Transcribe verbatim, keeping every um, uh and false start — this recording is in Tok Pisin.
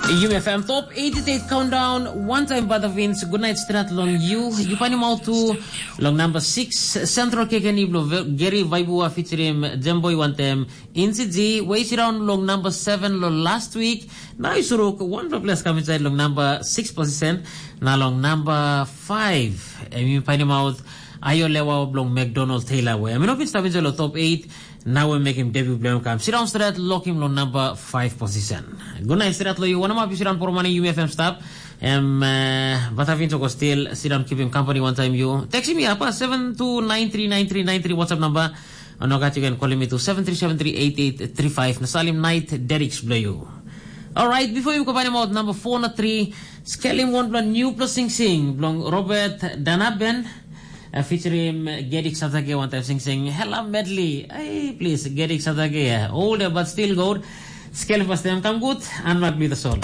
Yumi F M Top eighty-eight Countdown, one time Butterfins, Good Night Strat long you. You find him out too long number six, Central Kekeni blo Gary Vaibua featuring Jemboy one time. Insi G, way sit down long number seven lo last week. Now you suruk one plus come inside long number six position. Now long number five, and you find him out Ayo Lewa blong McDonald Taylor way. I mean, open stop inside lo top eight. Nau em mekim debut bilong em kam. Sit down stret, lokim long number five position. Good night stret lo you. Wanna map you sit down for money, you F M stop. Em uh, but having to go still sit down, keep him company one time you. Text me apa seven two nine three nine three nine three WhatsApp number. Or no got you can call me to seven three seven three eight eight three five. Nasalim night Derek Bleu. All right, before you go find him out number four na three, skelim one blong new plus sing sing blong Robert Danaben. Uh, featuring Gedik Satage one time sing sing Hella Medley. Hey, please, Gedik Satage. Older but still good. Scale first time come good and not be the soul.